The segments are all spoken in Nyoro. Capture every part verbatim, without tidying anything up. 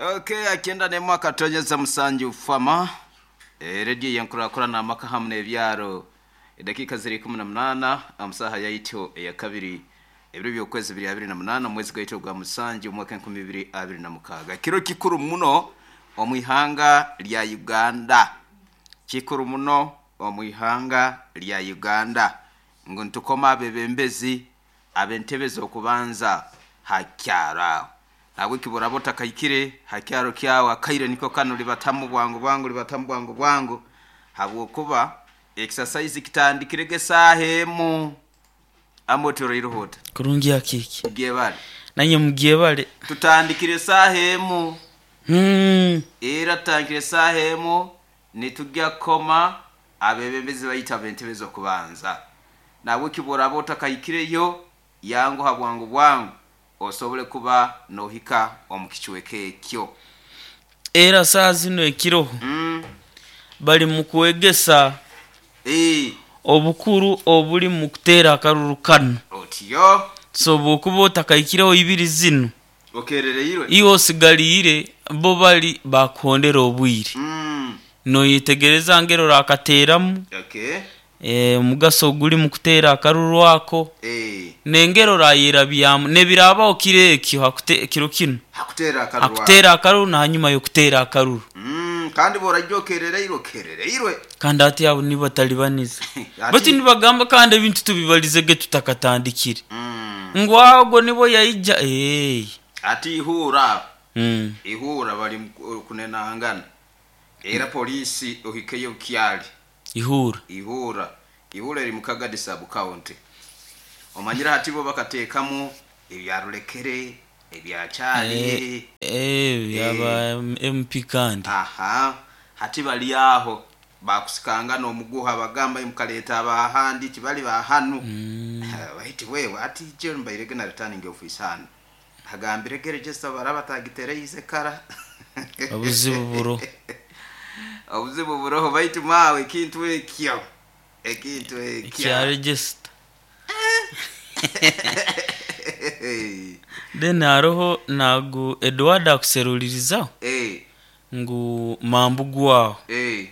Okay, akienda nemu akatonyeza musanju fama e, redio yenkurakurana amaka hamwe n'ebyaro edakika ziri ikumi na munana amusaha yaito eya kabiri ebiro by'okwezi bibiri abiri na munana omwezi gwaito gwa musanju omwaka enkumi ibiri abiri na mukaaga. Kiro kikuru muno omu ihanga lya Uganda, kikuru muno omu ihanga lya Uganda ngu nitukoma abebembezi ab'entebe z'okubanza hakyaro nabwe kiburaba otakahikire hakyaro kyawe akaire niko kanu libatamu bwangu bwangu libatamu bwangu bwangu habwokuba exercise kitandikirege esaaha emu amotoroireho ota. Kurungi akiki. Mugyebale. Nanye mugyebale. Tutandikire esaaha emu. Hmm. Era tutandikire esaaha emu nitujya kukoma abebembezi baitu ab'entebe z'okubanza nabwe kiburaba otakahikireyo yanguha bwangu bwangu osobole kuba nohika omu kicweka ekyo. Era saa zino ekiroho mm. bali mu kwegesa e. obukuru obuli mu kuteera akaruru kanu. Otyo. So bwokuba otakahikireho ibiri zino okerereirwe iwe osigaliire bo bali bakuhondera obwire. mm. Noyetegereza ngero orakateeramu. Okay. eh, omugaso oguli mu kuteera akaruru ako e. nengero orayerabyamu nebirabaho kiro ekyo hakute- kiro kinu hakuteera akaruru ako. hakuteera akaruru nahanyuma y'okuteera akaruru. mm. kandi borajya okerereirwe okerereirwe kandi ati abo nibo batalibaniza Ati- bati nibagamba kandi ebintu tubibalizege tutakatandikire mm. ngu ago nibo yaija hey. ati ihura mm. ihura bali mu kunenangana era polisi ohikeyo kyali ihura ihura ihura eri mukagadi sub county omanyira hati bo bakateekamu ebyarulekere ebyakyali. eh, byaba M P kandi. Aha, hati bali aho bakusikanga n'omuguha bagamba mukaleeta abahandi tibali bahanu mm. bahiti wewe ati je mbairege na returning office hano agambire gereje baraba tagitereize kara. Obuzibu buro. Obuzibu buroho baitu mawe ekintu ekyo ekintu ekyo kya register then haroho nagu Edward akuserulirizaho Eh, ngu mambu gwaho eh,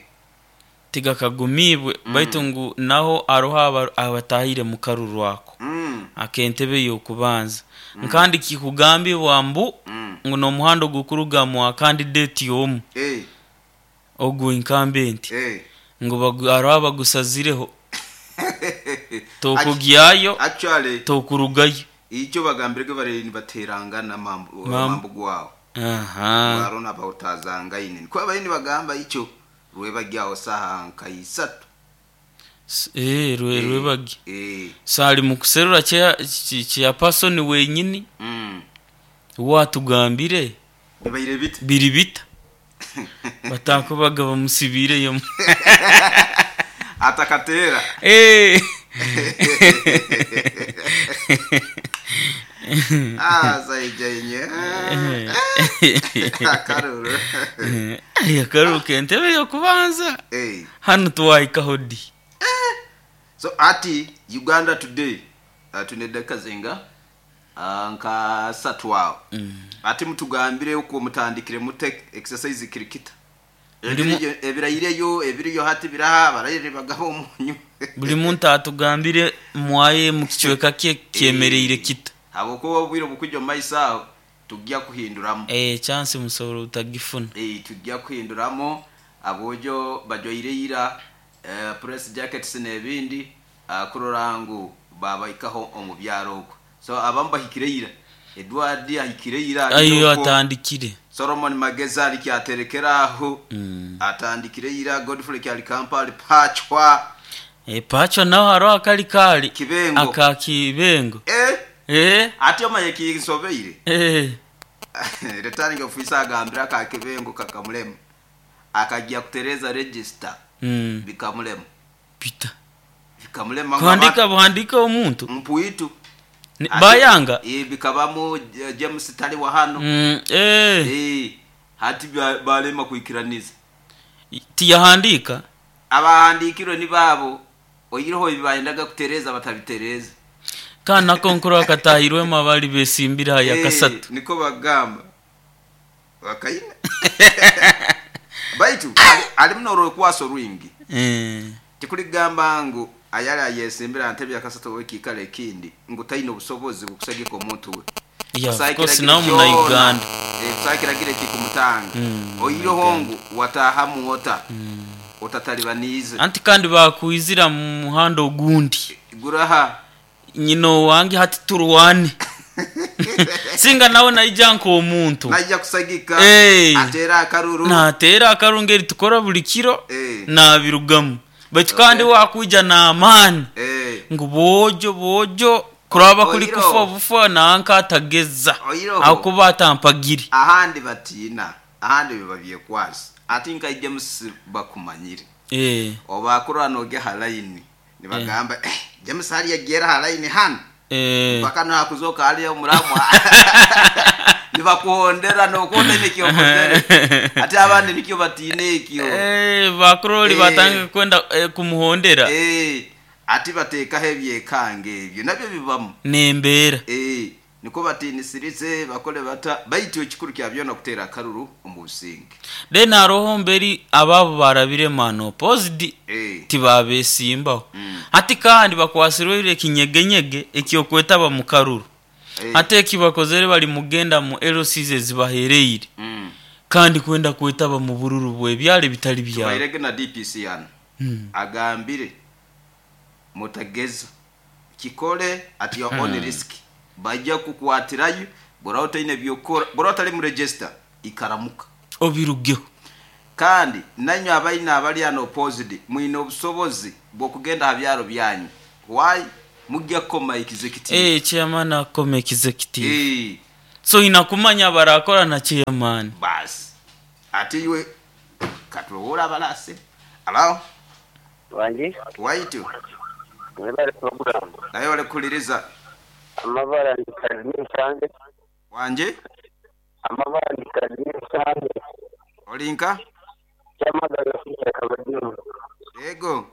tigakagumibwe mm. baitu ngu naho haroho aba- abatahire mu karuru ako mm, akentebe y'okubanza mm. nkandi kikugambibwa mbu mm, ngu n'omuhanda ogukuruga mwa candidate omu eh, ogu incumbent eh. ngu bagu- hariho abagusazireho tokugyayo Actually tokurugayo. icyo bagambirege bari nibaterangana mambu Mambu. mambu gwawo aha barona bawutazangaine niko abayini bagamba icyo rwebagyaho saha nka isatu. S- eh, rwe- rwebagi eh, so ali mu kuserura kya kya person wenyini mm. watugambire bibaire bite biri bita batakubaga bamusibireyo. Atakatera. Eh. Ah, saijainye akaruru. Ai, akaruru kentebe yokubanza Eh. hano tuwahikaho di. So ati Uganda Today uh, tune dakika zinga uh, nka satu awo mm. ati mutugambire uko mutandikire mute exercise kirikita. Buli mu- Ebiriyo- ebirayireyo ebiriyo hati biraha barayire bagaba omunyu. Buli muntu atugambire mwaye mu kicweka kye kyemereire kita. Habwokuba obwire obukujja omu maiso aho tujja kuhinduramu. Eh, chance musobola utagifuna. Eh, tujja kuhinduramu abojo bajoire ira eh, press jackets n'ebindi uh, kurora ngu babaikaho omu byaro okwo so abamu bahikire ira Edward ahikire ira ayo okwo. Atandikire. Solomon Mageza ali kyaterekera aho Mm. atandikire ira Godfrey kyali Kampala pachwa. Eh, pacho naho hariho akali kali Kibengo. aka Kibengo. Eh, eh, ate omaye kinsobeire. eh. Returning officer agambira aka Kibengo kakamulema akajja kutereza register mm. bikamulema. Pita bikamulema kuhandika buhandika omuntu mpuitu. Ni- bayanga. Eh, bikabamu eh, James tali wa hano. mm, eh. Eh, hati ba- balema kuikiraniza. Tiyahandika. Abahandikirwe ni babo oyireho bibayendaga kutereza batabitereza. Kandi nako nkuru akatahirwemu abali besimbire haya Eh, kasatu. Niko bagamba. Wakaine baitu ali- alimu n'orwekwasa orwingi. Eh, Tikuligamba ngu ayali ayesimbira ntebe yakasatu wekikalo ekindi ngu taine obusobozi bukusagika omuntu we. Yeah, of Kusakira course kiri nawe muna kyona, Uganda. eh, kusakira kikumutanga Mm, oiroho ngu watahamu ota otatalibaniize. Anti kandi bakwizira mu muhanda ogundi. Guraha. Nyina owange hati turwane singa nawe naija nk'omuntu. Najja kusagika. Eh. Atera akaruru. Nateera akarungu eri tukora buli kiro. Eh. Nabirugamu baitu kandi wakwija n'amaani Eh, ngu boojo boojo kuraba kuri Oiroho. kufa bufa nanka atageza. Oiroho. Akuba atampagiri. Ahandi batiina, ahandi biba byekwasa ati nka James bakumanyire. Eh, obakurora noge halaini nibagamba, eh, James hali yagera halaini hano. eh. Paka nakuzoka hali omuramwa nibakuhondera nokuhonda nekyokozere ate abandi nikyo batiina ekyo. Eh, bakuroli Eh. batanga kwenda eh, kumuhondera. Eh, ati bateekaho ebyekange ebyo nabyo bibamu. Nembeera. Eh, niko batinisirize bakole bata baitu ekikuru kya byona kuteera akaruru omu businge. Then haroho mberi ababo barabire mano opposed. Eh, Tibabesimbaho. Mm. Ati kandi bakwasirwe ekinyegenyege ekyokwetaba mu karuru. Eh, ate ekibakozere bali mugenda mu L Cs ezibahereire mm. kandi kwenda kwetaba mu bururu bwebyalo ebitali byabo. Tubairege na D P C hano. Mm. Agambire mutageza kikole at your own risk, bajja kukwatirayo bora otaine byokora, bora otali mu register ikaramuka. Obirugeho. Kandi nanywe abaina abali ano opposed mwine obusobozi bwokugenda ha byaro byanyu, why mujja kukoma executive. Eh, chairman akoma executive. Eh, so inakumanya barakora na chairman. Basi ate iwe katulowola abalase alo. Wangi. Waitu. Mwebale program. Naye walekuliriza. Amabara ndi Kazimiri Sange. Wanje. Amabara ndi Kazimiri Sange. Olinka. Kyamagana sita kabadimu. Ego.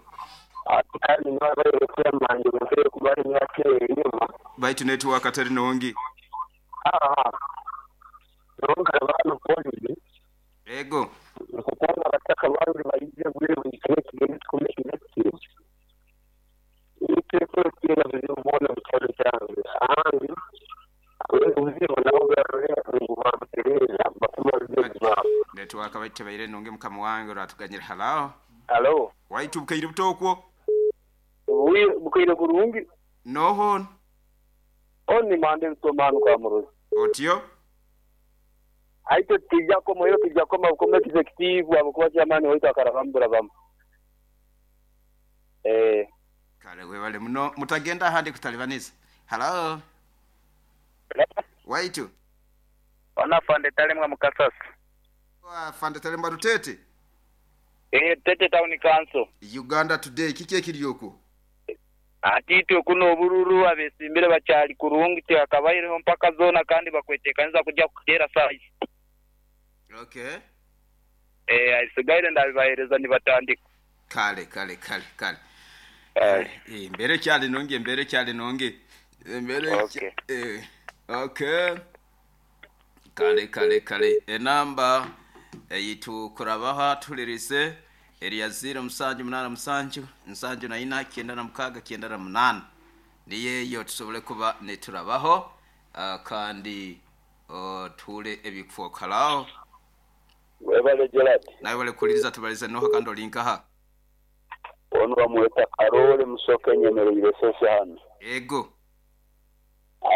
Ati kandi nibabaire chairman mukere kubali myaka enyuma. Baitu network atari nongi. Aha. Nonka abantu polisi. Ego. Nkukunda abataka bangi bayije bwire buri kimwe kigenda kikome executive. Iteko kera bizibu mu cyaro cyanjye. Ahandi ubuzibu nabo bwarore ngo babutereza bakuma urugendo rwabo. Network baite baire nongi mukama wange uratuganyira halao. Alo. Waitu bukaire butokwo. Bukaire kurungi. Noho. Oni mande bitomanu kwa muruzi. Otyo. Aito tijako muhiro tijako makome executive abakuba chairman waitu akarabambura bamu. Eh. Kale webale muno mutagenda ahandi kutalibaniza. Hello. Waitu. Ona fande talemwa mukasasa. Wa fande talemwa rutete. Eh, Tete Town Council. Uganda Today kiki ekiryoko? Atitwe kuno obururu abesimbire bacyali kurungi tiyakabaireho mpaka zona kandi bakwetekanza kujya kutera size. Okay. Eh, asigaire ndabibahereza nibatandika. Kale kale kale kale. Eh, Eh, mbere cyane nonge mbere cyane nonge. Mbere Okay. eh okay. Kale kale kale enamba eyitu kurabaha tulirise eriya zero musanju munana musanju nsanju na ina kyenda na mukaga kyenda na munana niyeyo tusobole kuba neturabaho uh, kandi uh, tule ebikufokalao. Webale Gerard. Nawe wale kuliriza tubalize noho kandi olinkaha. Ono bamweta Karole Musoke nyemereire sese hano. Ego.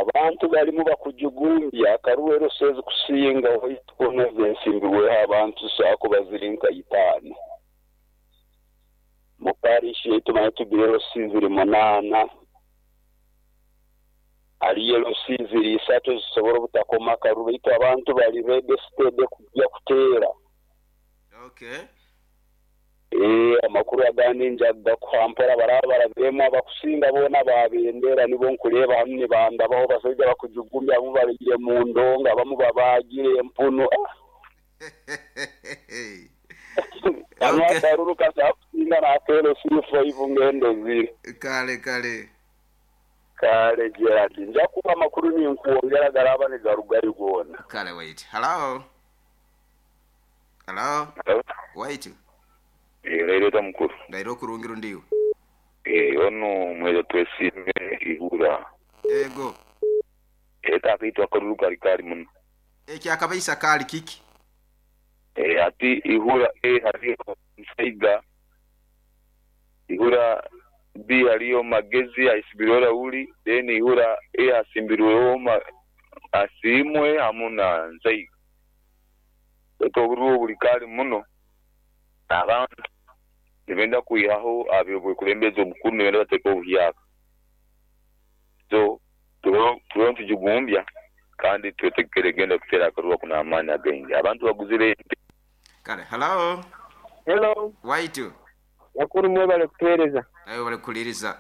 Abantu balimu bakujugumbya akaruwero sezi kusinga oitwona ensimbi abantu saako bazirinka itaano. Mu parish yaitu manye tugire ziri munaana. Hariyo ziri isatu zisobora obutakoma akaruru baitu abantu bali registered kujya kuteera. Okay. Eh, amakuru agandi njaga kuhampora barabara bemu abakusinga bona babendera nibo nkureba hamwe nibandabaho basajja bakujugumbya abamu babigire mu ndonga abamu babagire empuno. Okay. Akaruru kasakusinga nakero C five ngendo ziri. Kale kale. Kale Gerard, nja kuba amakuru ninkwongera garaba nigarugari gona. Kale wait. Hello. Hello, waitu. Leero mukuru. Ndairo kurungiru ndiwe. Eh, ono mweza twesime ihura. Ego. Eta kitu akaruru kali kali muno. Ekyakabaisa kali kiki? Eh, ati ihura e hariyo nsaiga. Ihura B hariyo magezi aisibirora uli, then ihura E asimbirweho ma asimwe hamuna nsaiga. Eto oburu buli kali muno. Abantu nibenda kwihaho abyobukulembeze obukuru nibenda bateka obuhyaka. So tulo tujugumbya kandi twetegere genda kutera akaruru kuna amani agenge. Abantu baguzire. Kale, hello. Hello. Waitu. Yakuru mwe bale kutuhereza. Nawe bale kuliriza.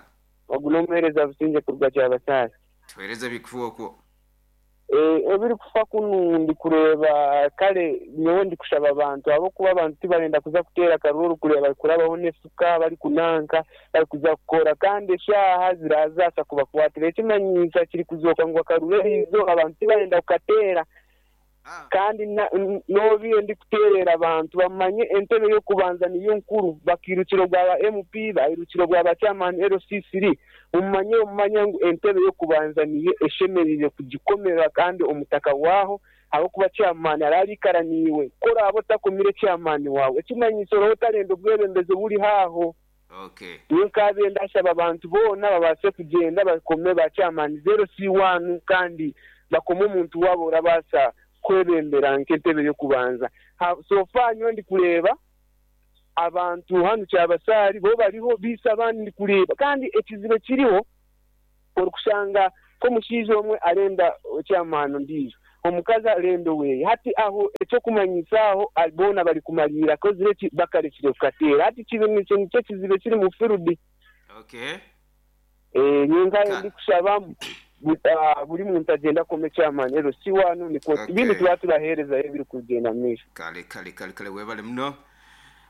Wagunomereza businje kuruga kyabasasa. Tuhereze bikufu okwo. Eh, ebiri kufa kunu ndi kureba kale nyowe ndi kushaba abantu abo kuba abantu tibarenda kuza kutera karuru kureba kurabaho nefuka bari kunanka bari kuza kukora kandi eshaha zirazasa kubakwatira ekimanyisa kiri kuzoka ngo akaruru izo abantu tibarenda kukatera. Ah. Kandi nobiye ndi kuterera abantu bamanye entebe yo kubanza niyo nkuru bakirukiro bwa M P bayirukiro bwa chairman L C three umanye umanye ngo entebe yo kubanza niyo eshemerire kugikomera kandi omutaka waho abo kuba chairman ararikaraniwe kora abo takomire chairman wawe ekimanyiso roho tarendo bwebembeze buri haho. Okay. Niyo kabe ndashaba abantu bona babase kugenda bakome ba chairman zero C one kandi bakome omuntu wabo rabasa kwebembera nk'entebe yo kubanza. So far nyo ndi kureba abantu hano kyabasari bo bariho bisa abandi ndi kureba kandi ekizibe kiriho orukushanga ko mushizo omwe arenda chairman ndijo omukazi arenda we hati aho ekyo kumanyisaho albona bari kumalira kozireki bakarekire kukatera hati kibe nicyo nicyo kizibe kiri mu firudi. Okay. Eh nyinga ndi kushabamu buri muntu agenda kome chairman ero si wanu niko ibintu twaturahereza ebiri kugenda mwisho. Kale kale kale kale webale muno.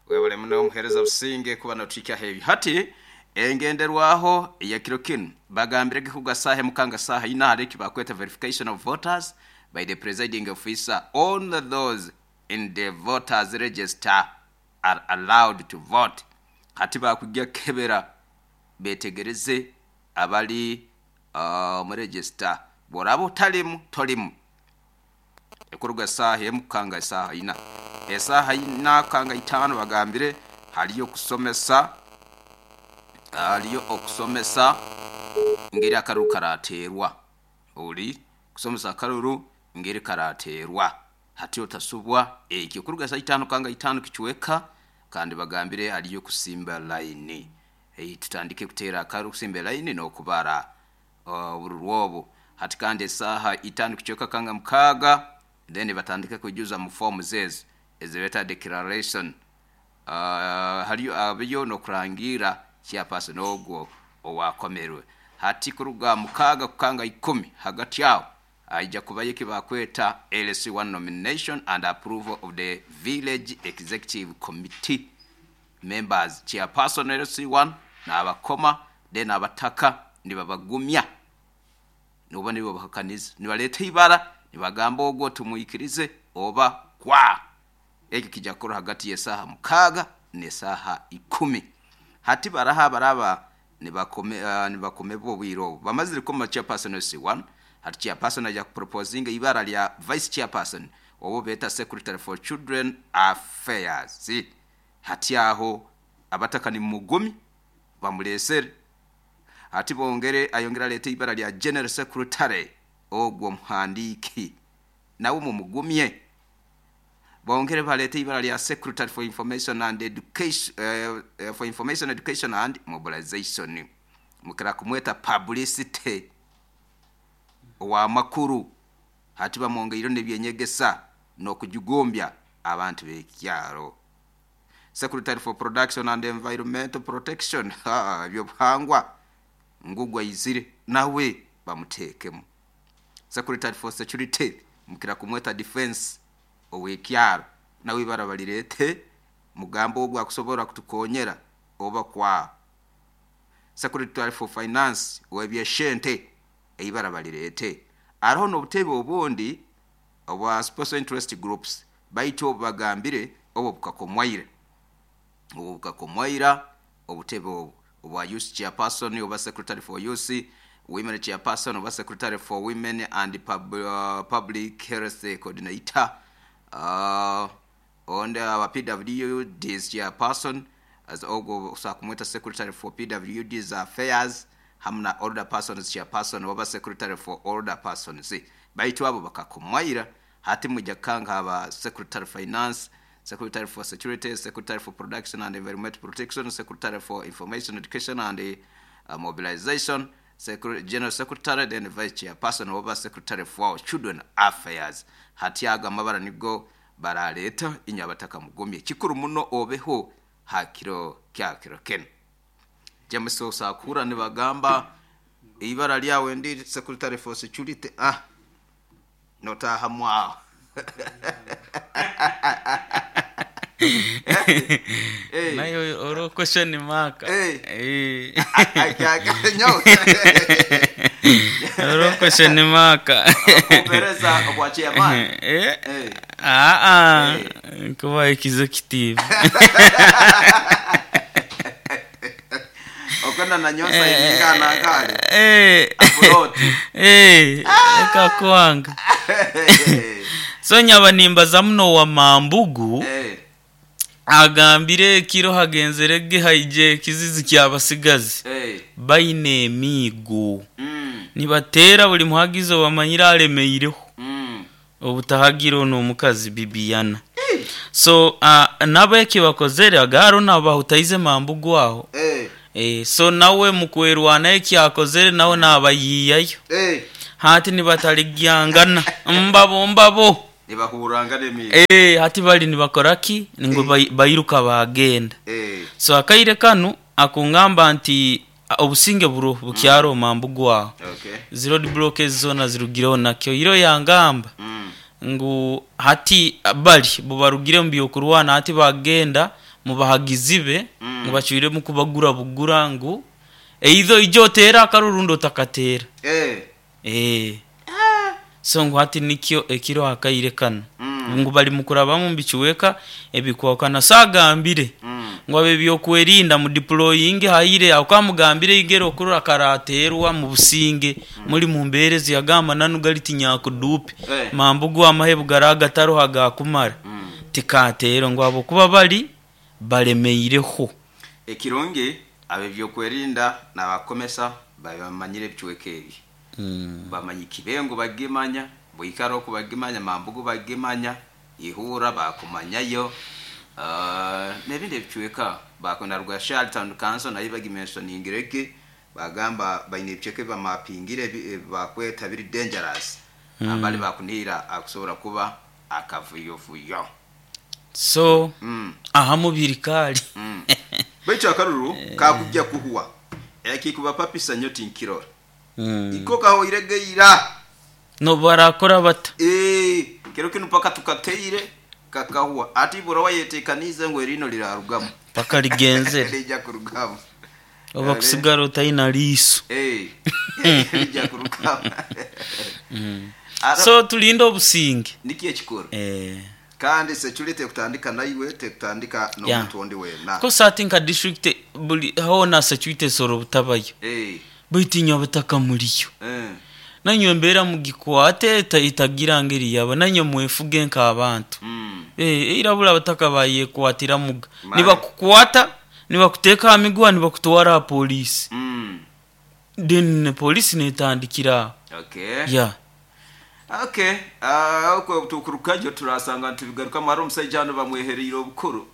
Webale muno muhereza businge kuba notika hebi. Hati engenderwaho ya kiro kinu bagambire kuga sahe mukanga saha ina hariki bakweta verification of voters by the presiding officer. Only those in the voters register are allowed to vote. Hati bakujya kebera betegereze abali Uh, mu register borabo talimu tolimu ekuruga saha emukanga saha ina esaha ina kanga itano bagambire haliyo kusomesa haliyo okusomesa ngeri akaruru karaterwa uri kusomesa akaruru ngeri karaterwa hati otasubwa ekyo kuruga saha itano kanga itano kichweka kandi bagambire haliyo kusimba line hey, tutandike kutera akaruru kusimba line no kubara uh, obu hati kandi esaha itano kichweka kanga mukaga then batandike kujuza mu form zezi ezibeta declaration uh, haliyo abiyo no kurangira chairperson ogwo owakomerwe hati kuruga mukaga kukanga ikumi hagati yao aija kubaye kibakweta L C one nomination and approval of the village executive committee members chairperson L C one n'abakoma then abataka nibabagumya nuba nibo bahakaniza nibaleta ibara nibagamba ogwo tumuyikirize oba kwa eki kijakoro hagati yesaha mukaga nesaha ikumi hati baraha baraba nibakome uh, nibakome bo bwiro bamazire koma chairperson C one hati chairperson aja proposing ibara lya vice chairperson obo beta secretary for children affairs hati aho abataka ni mugumi bamulesere hati bongere ayongera leta ibara lya general secretary ogwo muhandiki nawe mumugumye bongere balete ibara lya secretary for information and education uh, for information education and mobilization mukira kumweta publicity wa makuru hati bamwongeire nebyenyegesa no kujugombya abantu bekyaro secretary for production and environmental protection ha byobuhangwa ngugwa izire nawe bamutekemo secretary for security mukira kumweta defense owekyaro nawe barabalirete mugambo ogwa kusobora kutukonyera oba kwa secretary for finance webyeshente eibarabalirete aroho nobutebe obundi obwa special interest groups baito bagambire Obwo bukakomwaire obwo bukakomwaira obutebe obwo obwa youth chairperson oba secretary for youth, women chairperson oba secretary for women and pub, uh, public health coordinator, uh, onde aba P W Ds chairperson as ogwo sakumweta secretary for P W Ds affairs, hamwe na older persons chairperson oba secretary for older persons. Baitu abo bakakomwaira. Hati mwijja kanga aba secretary finance, secretary for security, secretary for production and environment protection, secretary for information, education and uh, mobilization, Secre- general secretary, then vice chairperson oba secretary for children affairs. Hati ago amabara nigo baraleta inyabataka mugumye kikuru muno obeho hakiro kyakiro kenu. James osakura nibagamba ibara lyawe ndi secretary for security, ah, notaha mwaho. Eh. Nayo oro question mark. Eh. Eh. Nyo. Oro question mark. Kumpereza obwa chairman. Eh. Eh. Ah ah, kuba executive. Okenda na nyonsa ingana kale. Eh. Afuroti. Eh, ekakwanga. So nyaba nimbaza muno wa Mambugu Eh. agambire ekiro hagenzerege haije ekizizi kyabasigazi Eh. baine emiigo Mm. nibateera buli muhagizi bamanyire alemeireho Mm. obutahagira ono omukazi Bibiyana. So uh, nabo eki bakozere agaro nabo bahutaize Mambugu aho. Eh. Eh, so nawe mukwerwana eki akozere nawe nabayiyayo. Eh. Hati nibataligyangana mbabo mbabo. Nibahuranga nemi. Eh, hati bali nibakoraki ngo bai- bairuka bagenda. Eh. So akaire kanu akungamba nti a, obusinge buro bukyaro Mambugu aho. Okay. Zero block zona zirugireho nakyo iro yangamba Mm. ngu hati bali bubarugire mu byokurwana hati bagenda mubahagizi be Mm. ngu bacwire mu kubagura bugura ngu eitho ijo otera akarurundo otakatera. Eh. Eh. So ngu hati nikyo ekiro akaire kano Mm. ngu bali mukurabamu mbikiweka ebikwakana sagambire Mm. ngo abe byokwerinda mu deploying haire akamugambire igero okurora karaterwa mu businge muri mu mberezi yagamba nanugali tinyakudupe Eh. Mambugu amahebu garagataro hagakumara Mm. tikatero ngo abo kuba bali balemeireho. Ekirungi ab'ebyokwerinda nabakomesa babamanyire ebichweka ebi Mm. bamanya Kibengo bagimanya, Bwikaro kubagimanya, Mambugu bagimanya, Ihura bakumanyayo, uh, n'ebindi ebichweka bakona Rwashali Town Council nayo bagimentioningireke bagamba baine ebichweka bamapingire ebi- bakweta biri dangerous mm. Abali bakunira akusobora kuba akavuyovuyo. So mm. aha mubiri kali. Mm. Baitu akaruru kakujja kuhuwa ekikubapapisa nnyo tinkirora Mm. iko kahoiregeira. No barakora bata. Eh, kero kino paka tukateire kakahuwa ati bora wayetekanize ngo erino lirarugamu. Paka ligenzere. Lijja kurugamu. Oba kusigara otayina liiso. Eh, lijja kurugamu. Ara- So tulinde obusinge. Nikyo ekikuru. Eh. Kandi security tekutandika naiwe, tekutandika n'omuntu ondi wena. Kosa ati nka district buli hona security soro butabayo. Eh, Baitu abataka muriyo. eh, Nanywe embeera mugikwate ita- itagira ngeri yaba nanywe mwefuge nk'abantu. mm, Eh, irabula abataka bayekwatira muga. Mare. Nibakukwata, nibakuteeka aha miguwa, nibakutwara aha polisi. mm. Then polisi netandikira aho. Okay. Yeah. Okay, ah, okwo tukurukajo turasanga ntibigarukamu. Hari omusajja hano bamwehereire obukuru.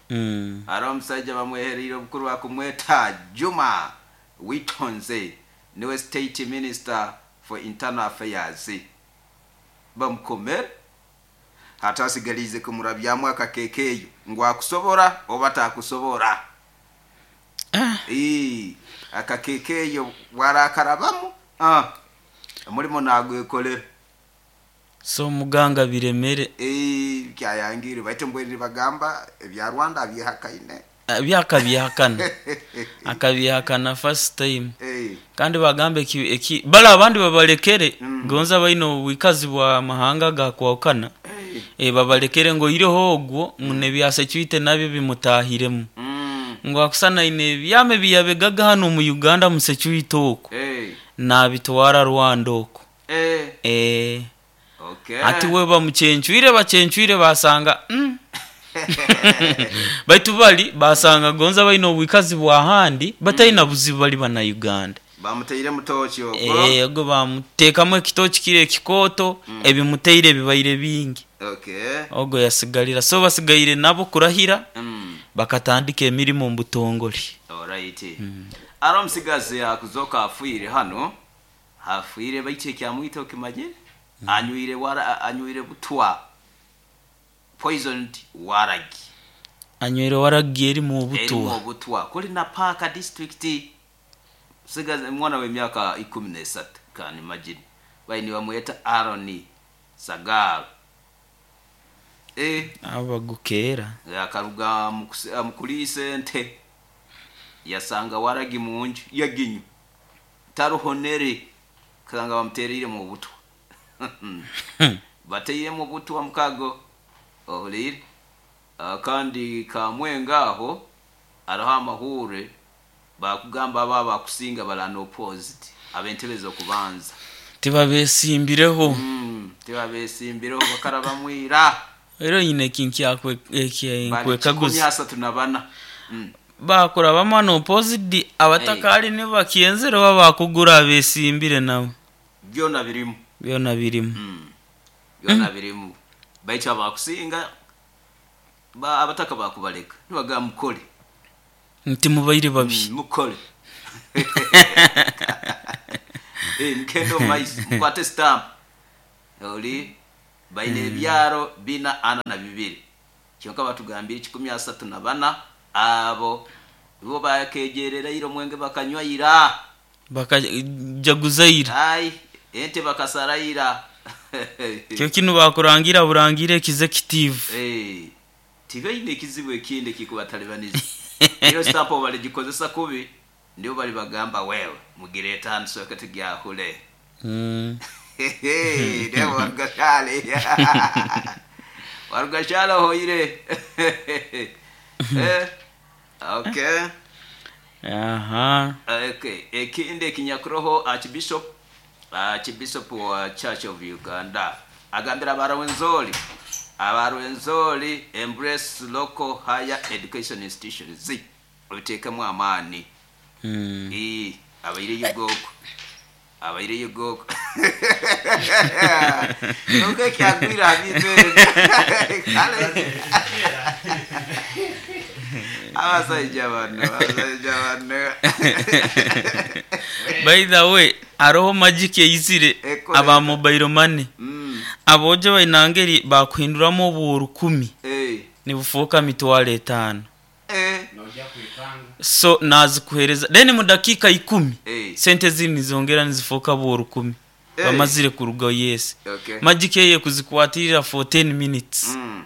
Mm. Hari omusajja bamwehereire obukuru bakumweta Juma Witonze, niwe state minister for internal affairs. Bamukomere hati asigalize kumurabyamu akakeke eyo ngu akusobora oba takusobora. Ah. Ii, akakeke eyo bwarakarabamu, ah, omulimo nagwekolera. So muganga biremere. Eh, kyayangire baitu mbwenu bagamba ebya Rwanda byehakaine. Ah, byakabyehakana akabyehakana first time. Eh, kandi bagambe eki, eki bala abandi babalekere Mm. gonza baine obwikazi bwa mahanga gakwawukana. Eh, Eh, babalekere ngo ireho ogwo ngu nebya security nabyo bimutahiremu Mm. ngo akusana ine ebyama ebiyabegaga hano mu Uganda mu security oko Eh. nabitwara Rwanda oko Eh. eh Okay. ati we bamucencwire bacencwire basanga mm. baitu bali basanga gonza balina obwikazi bwahandi batalina buzibu bali bana Uganda Bamuteire mutoki ogwo. Eh, ogwo bamuteekamu ekitoki kiri ekikooto ebimuteire bibaire bingi Okay. ogwo yasigalira so basigaire nabo kurahira Mm. bakatandika emirimu mu butongole Alright. Aro musigazi akuzoka afuire hano. Afuire baitu ekyamwita okimanyire. Anywire wara anywire butwa. Poisoned waragi. anywere waragi erimu Erimu obutwa obutwa. Kuli na Parker district. Musigazi mwana w'emyaka ikumi n'esatu. Can imagine. Baini bamweta Aaron Sagal. Eh. abagukeera Akaruga mu kuse- mu kuliisa ente yasanga waragi munju yaginyu taruhonere kasanga bamutereire mu butwa bateire mu butwa mukago ohulire Ah, kandi kamwenga aho araho amahure bakugamba aba bakusinga balana opposite ab'entebe z'okubanza tibabesimbireho mm, tibabesimbireho bakarabamwira era nyine ekintu bali kikumi nkwekaguza asatu na bana mm. bakura bamwana opposite abatakali ne bakyenzere oba bakugura abesimbire nabo byona birimu byona birimu Mm. byona birimu baitu abakusinga ba abataka bakubaleka nibaga mukole nti mubaire babi Mm, mukole Eh, mukende omumaiso mukwate stamp oli baine ebyaro bina ana na bibiri kyonka batugambire kikumi asatu na bana abo bo bakejerereire omwenge bakanywaira bakajaguzaira ai ente bakasaraira kyo kinu bakurangira burangire executive Eh, tibaine ekizibu ekindi ekikubatalibaniza iyo stamp baligikozesa kubi ndio bali bagamba wewe mugireta hano soka tugyahule Mm. ndio warugashale warugashale hoire Eh, okay aha okay ekindi ekinyakuroho archbishop archbishop wa Church of Uganda agambira abarwenzori abarwenzori embrace local higher education institutions obitekemu amaani Mm. Eh, abaire y'ubwoko abaire y'ubwoko nubwo kyagwira habibere abasajja bano abasajja bano by the way aroho magic eyizire Ekore. aba mobile money Mm, abojo bainangeri bakuhinduramu obu rukumi eh, nibufuuka mitwaro etaano eh, so nazikuhereza then mu dakika ikumi eh, sente ziri nizongera nizifuuka bu rukumi Eh. bamazire kuruga yes okay. magic eye kuzikwatirira for ten minutes Mm.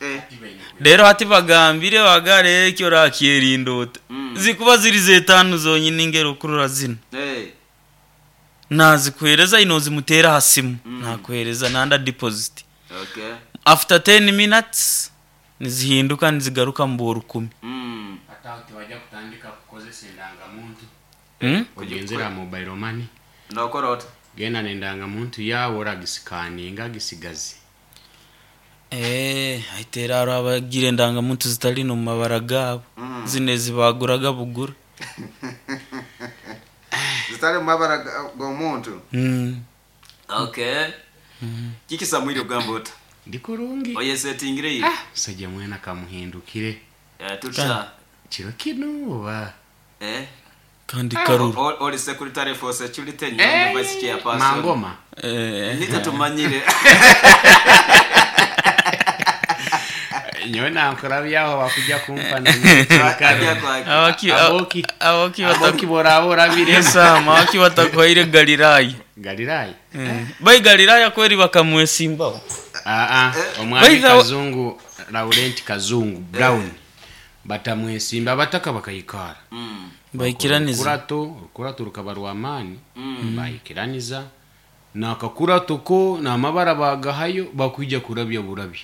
Eh, rero hati bagambire bagare ekyo rakyerinda ota Mm. zikuba ziri zetanu zonyine ingero kurura zino eh, nazikuhereza ino zimutera ha simu Mm. nakuhereza nanda deposit okay. after ten minutes nizihinduka nizigaruka mu bu rukumi Mm. Ate tebajja kutandika kukozesa endangamuntu mm? ogenzera mobile money Nokora ota genda nendangamuntu yawe oragisikaninga gisigaze Eh, aitera aro abagira endangamuntu zitali no mu mabara gabo Mm. zino ezibaguraga bugura zitali mu mabara g'omuntu mm. okay kiki samwiri ogamba ota ndi kurungi oyesetingire ye musajja mwena kamuhindukire Eh, tuta kiro kino oba eh kandi karuru O- oli secretary for security nyonge vice chairperson mangoma eh, nita tumanyire nyowe nankurabyaho bakujja kumpa Ajja kwaki. abaki Aboki. aboki aboki boraba orabire batakwesama abaki batakwaire galilaya galirayi mm. bai galilaya kweri bakamwesimbaho aa omwami By the way- kazungu laurent kazungu brown batamwesimba abataka bakayikara Mm, baikiraniza orukurato orukurato rukaba rwamaani bayikiraniza Nakakuratoko n'amabara bagahayo bakwija kurabya burabya.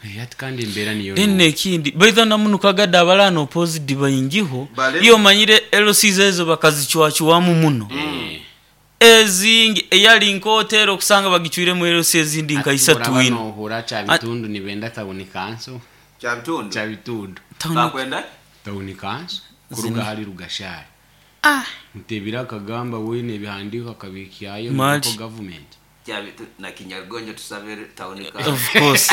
Eh, ati kandi embeera niyo Then ekindi baitha namunukagadde abalana opposite baingiho. Bale- Iyo omanyire L Cs ezo bakazicwacwamu muno ezingi, eyali nkotera okusanga bagicwiremu L C ezindi nka isatu ino. Nohura Kyabitundu nibenda town council. Kyabitundu. Kyabitundu. Bakwenda Town council kuruga hali Rugashari mutebira akagamba wene ebihandiko akabikyayo Mali. local government. Kyabitu na Kinyarugonjo tusabe town ka. Of course,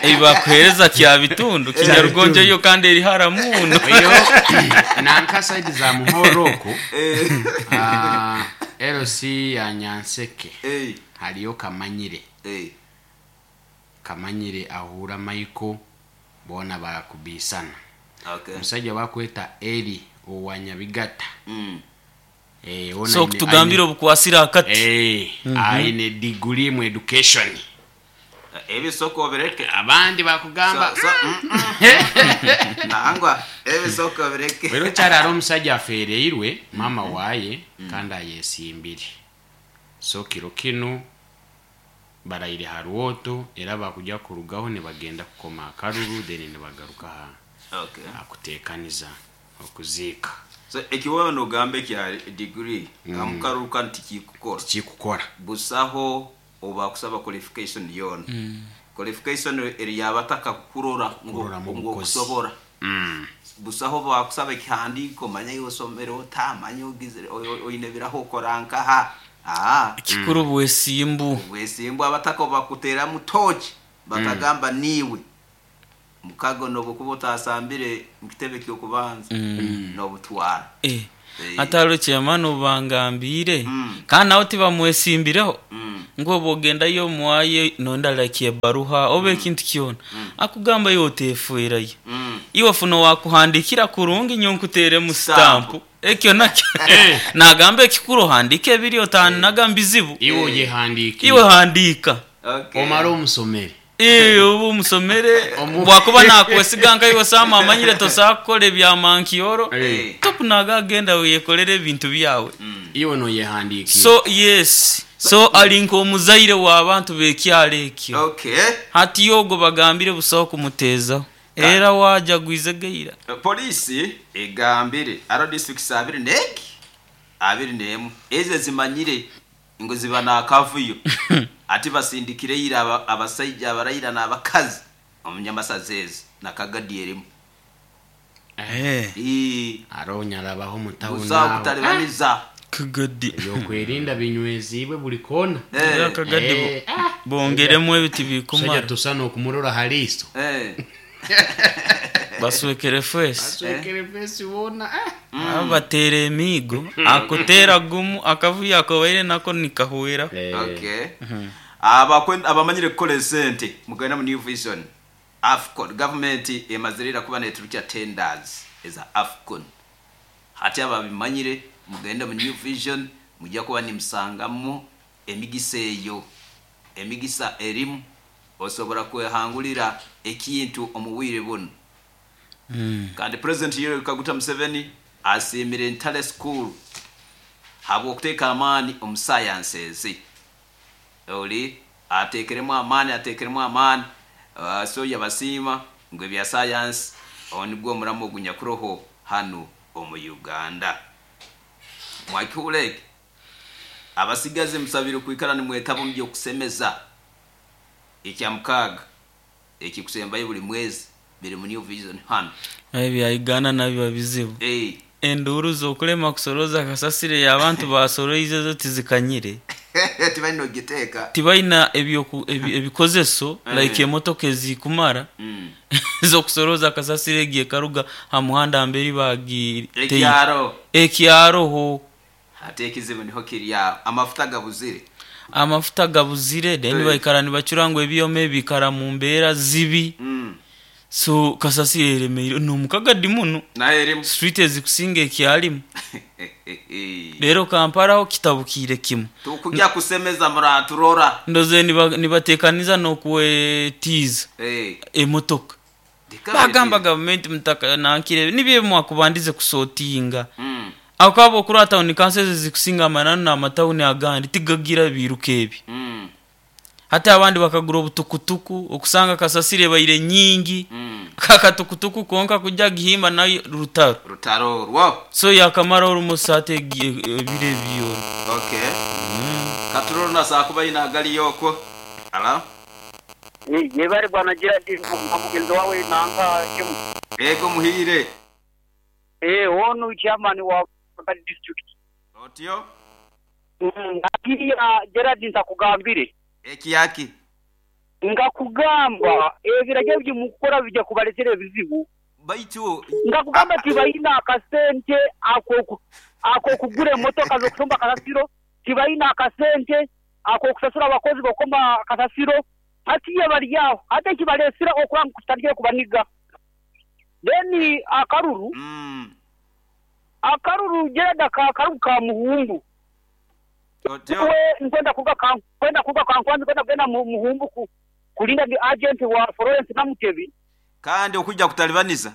ebibakuhereza Kyabitundu, Kinyarugonjo yo kandi eri hara muno. Oyo nanka side za Muhoroko, ah, L C ya Nyanseke Eh, hariyo Kamanyire. Eh. Kamanyire ahura Michael bona barakubisana. Okay. Omusajja bakweta Eri owa Nyabigata. Mm. Eh, ona So aine- okutugambira obukwasira akati. Eh, aine degree mu education. Ebisoko bireke. Abandi bakugamba So, so, mm, mm. Nangwa ebisoko bireke. Rero kyarara omusajja afereirwe mama waye kandi ayesimbire, so kiro kino barayire ha rwoto era bakujya kurugaho nibagenda kukoma akaruru, then nibagaruka ha Okay. akutekaniza okuziika. So ekiwewe nogamba ekya degree amukaruka nti kikukora. Kikukora. Busaho obakusaba qualification yona. Qualification eri yabataka kurora ngo Kurora mu ngo bukozi. kusobora. Mm. Busaho bakusaba ekihandiko, manya yosomere otamanya ogizire oine biraho okora nkaha, ah. Kikuru bwesimbu. Bwesimbu, abataka bakuteramu toki bakagamba niwe mukago nobukuba otasambire mukitebe kyokubanza nobutwara. Eh, Eh. atalo chairman obangambire Mm. kandi nawe tibamwesimbireho Mm. ngo bogendayo mwaye nondalakie baruha oba ekintu kyona akugamba yo otefuirayo. Mm. Iwe funo wakuhandikira kurungi nyonkuteremu Stamp. stampu, ekyo nakyo nagamba ekikuru ohandike ebiri otannaga mbizibu. Iwe oyehandiikire. Iwe handika. Okay. Omara omusomere. Eh, obu musomere. Omu- Bwakuba nakwesiga nka iwe sama amanyire tosobola kukola ebyamankioro. Eh. Topu naga agenda weyekolera ebintu byawe. Iwe noyehandiikire. So yes, so ali nk'omuzaire w'abantu b'ekyalo ekyo. Okay. Hati yogo bagambire busaho kumuteezaho era wajagwize geira. Polisi egambire aro districts abiri neki abiri nemu ezo zimanyire ngo ziba nakavuyo ati basindikire ira aba- abasajja abarayira n'abakazi omunyamasazi ezo nakagadi erimu. Ii, Aronyarabaho mutawuni. busaho kutalibaniza. Kagadi. Ebyokwerinda binywezibwe buli kona. Era Eh, kagadi bo- Eh, ah. bongeremu ebiti Musajja bikumara. tusa n'okumurora haliiso. Eh. Baswekere fesi. Aswekere fesi wona, ah. Bateera emiigo akuteera gumu akavuyo akobaire nako nikahwera. Okay. Abakwen- abamanyire kukola esente mugenda mu New Vision AFCON. Gavumenti emazirira kuba neturukya tenders eza AFCON. Hati ababimanyire mugende mu New Vision, mujja kuba nimusangamu emigisa eyo. Emigisa erimu osobola kwehangulira ekintu omu bwire buno. Kandi President Yoweri Kaguta Museveni asiimire Ntale School habw'okuteeka amaani omu sciences. Oli ateekeremu amaani, ateekeremu amaani. uh, so yabasiima ngu ebya science awo nibwo omuramu ogunyakuroho hanu omu Uganda. Mwakihura eki, abasigazi musabire kwikara nimwetaba omu byokusemeza ekyamukaaga ekikusembayo buli mwezi biri mu New Vision hano. Ebya Uganda nabyo bizibu. Eh, Enduuru z'okulema kusoroza kasasire abantu basoroize zo tizikanyire. Tibalina ogiteeka. Tibalina ebyoku- ebi- ebikozeso Eh. like emotoka ezikumara Mm. zokusoroza kasasire egiye karuga ha muhanda mberi bagiteye. Ekyaro. Ekyaroho. Ate ekizibu niho kiri aho, amafuta gabuzire. Amafuta gabuzire, then Eh. baikara nibacura ngu ebyoma ebikara mu mbeera zibi. Mm. So kasasire eremeire nomukagadi muno. Naye erimu. Street ezikusinga ekyalimu rero Kamparaho kitabukiire kimu. Tukujja kusemeza muraturora. Ndoze niba- nibatekaniza n'okwetiiza Eh, emotoka. Ndikabiri Bagamba tiri. gavumenti mutaka nankire nibyo mwakubandize kusotinga. Mm. Akaba okurora tawuni kanso ezo zikusinga amananu n'amatawuni agandi tigagira biruka ebi. Mm. Hati abandi bakagura obutukutuku okusanga kasasiro ebaire nyingi. Mm. Kakatukutuku konka kujja gihimba nayo rutaro. Rutaro orwo. So yakamara orumosi ate ebiro ebyona. Okay. Katuroro nasakuba ina agaliyo okwo. Alo. Yebare bwana Gerard na mugenzi wawe nanka kimu. Ego muhire. Eh onu chairman wa Bakali district. Otyo. Mm, Nagiya Gerard ntakugambire. Ekiyaki. Ngakugamba ebiragiro by'mukora bijya kubaletera ebizibu. Baitu ngakugamba tibayina akasente ako ako kugura emotoka zokusomba kasasiro, tibayina akasente ako kusasura abakozi bokoma kasasiro, hatiye bali aho ate kibalesira okuranga kutandikira kubaniga. Then akaruru mm. akaruru Gerard ka akaruru ka muhumbu. Otyo. We nkwenda kuga ka kwenda kuga ka nkwanzi kwenda kugenda mu muhumbu ku, kulinda the agent wa Florence Namutebi. Kandi okujja kutalibaniza.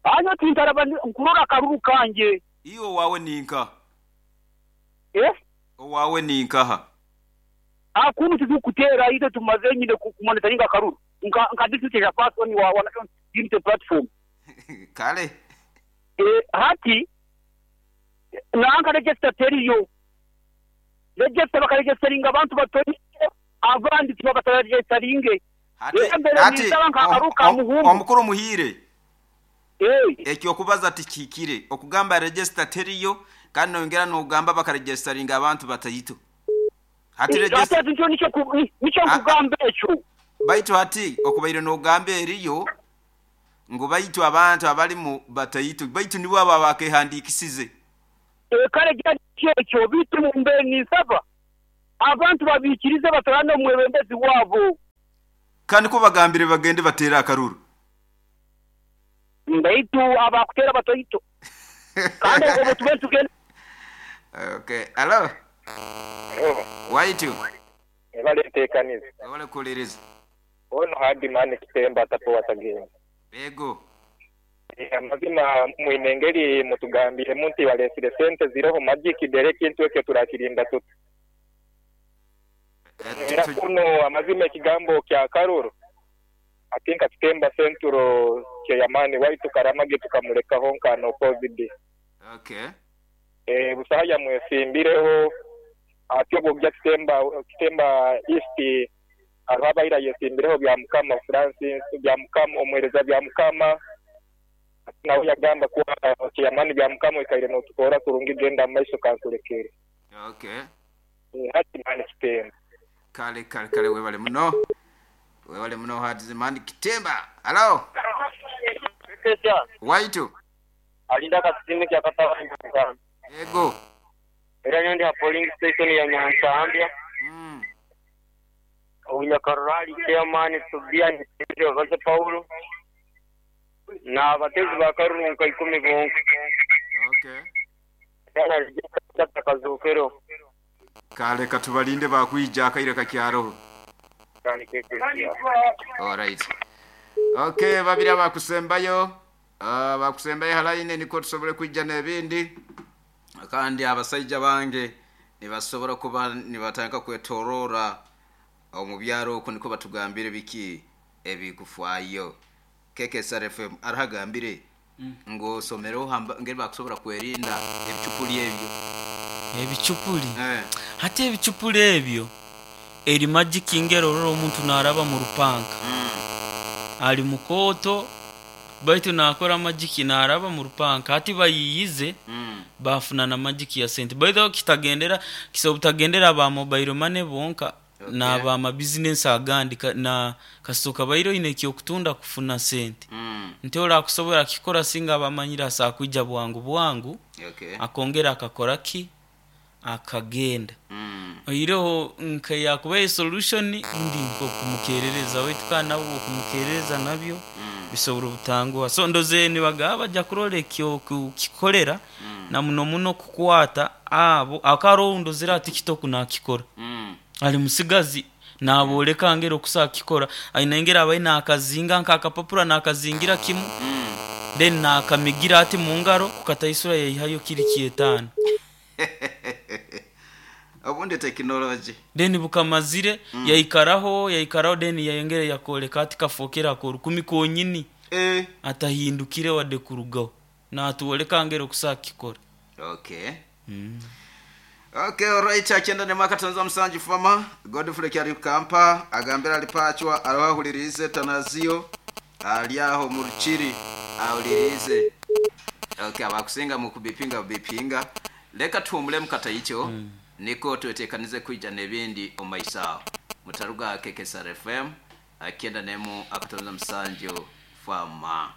Anyo tintarabani nkurora akaruru kanje. Iyo wawe ninka. Eh? Owawe ninkaha. Akunu tuzukutera ite tumaze nyine kumonitoringa akaruru. Nka nka district ya person wa wa National Unity Platform. Kale. Eh hati nanka register teriyo. Register bakaregisteringa abantu batonye abandi tibakataregisteringe. Hati hati omukuru muhire. Eh ekyo okubaza tikikire okugamba register teriyo kandi nongera nogamba bakaregisteringa abantu batayito. Hati register nicho nicho nicho kugamba ekyo. Baitu hati okubaire nogamba eriyo ngo baitu abantu abali mu batayito baitu nibo aba bakehandikisize. E kale ekyo bitu mbe nisaba abantu babikirize batorana omwebembezi wabo. Kandi ko bagambire bagende batera akaruru. Ndaitu abakutera batoyito. Kandi obo tube tugende. Okay, hello. Hello. Waitu. Ebale tekanize. Ebale kulereza. Ono hadi mane kitemba tapo watagenda. Ego. Amazima mwinengeri mutugambire munti walesire sente ziroho magic dereki ntweke turakirinda tutu. Era kuno amazima ekigambo kya karuru. Atinka kitemba senturo kya yamani waitu karamage tukamuleka honka no covid. Okay. Eh busahaya mwesimbireho atyo bya kitemba kitemba east arwabaira yesimbireho bya mukama Francis bya mukama omwereza bya mukama nawe yagamba kuwa kiyamani bya mukama ikaire no tukora kurungi genda maiso kankulekere. Okay. Eh hati mani kitemba. Kale kale kale webale muno. Webale muno hati mani kitemba. Hello. Waitu. Alinda kasime kya katawa. Ego. Era nyondi ha polling station ya Nyansambya. Mm. Onyakarali chairman Tubia ni Vaze Paulo. Na abatezi bakarunka ikumi bonka. Okay. Era rijeta kazokero. Kale katubalinde bakwija akaire kakyaro. All right. Okay, babiri abakusembayo. Ah uh, bakusembayo halaine niko tusobole kwijja n'ebindi. Kandi abasajja bange nibasobora kuba nibatanga kwetorora omu byaro uko niko batugambire biki ebikufwayo. K K S R F M arahagambire mm. ngo somero hamba ngeri bakusobora kwerinda ebicupuli ebyo. Ebicupuli. Eh. Hati ebicupuli ebyo eri magic ingero roro omuntu naraba mu rupanka. Mm. Ali mukoto baitu nakora magic naraba mu rupanka hati bayiyize mm. bafuna na magic ya sente. Baitu kitagendera kisobutagendera ba mobile money bonka. Okay. Na ba ma business agandi na kasoka bairo ine kyo kutunda kufuna sente. Mm. Nteola kusobora kikora singa abamanyira sa kuija bwangu bwangu. Okay. Akongera akakora ki akagenda. Mm. Oyireho nka yakubaye solution ndi nko kumukerereza wetu kana nabo kumukerereza nabyo mm. bisobora obutangwa. So ndoze nibagaba bajja kurole kyo kukikolera mm. na muno muno kukwata abo akaro ndozera TikTok nakikora. Mm. Ali musigazi naboleka ngero kusakikora aina ngera abaina akazinga nkakapapura nakazingira kimu mm. Then nakamigira ati mu ngaro kukataisura yaihayo kiri kyetaano. Obundi tekinologi. Then bukamazire yaikaraho yaikaraho, then yayongera yakoleka ati kafokera akorukumi konyini eh. Atahindukire wadde kurugaho natwoleka ngeri okusaa kikora. Okay, okay, alright. Akyenda ne mwaka musanju fama Godfrey kyali kampa agambira alipachwa arawahulirize tanazio ali aho mu rukiri awulirize. Okay, abakusinga mu kubipinga bipinga, leka tuhumule mukata icho mm. Niko twetekanize kwija n'ebindi omu maiso aho mutaruga K K S R F M akyenda nemu akatonza musanju fama.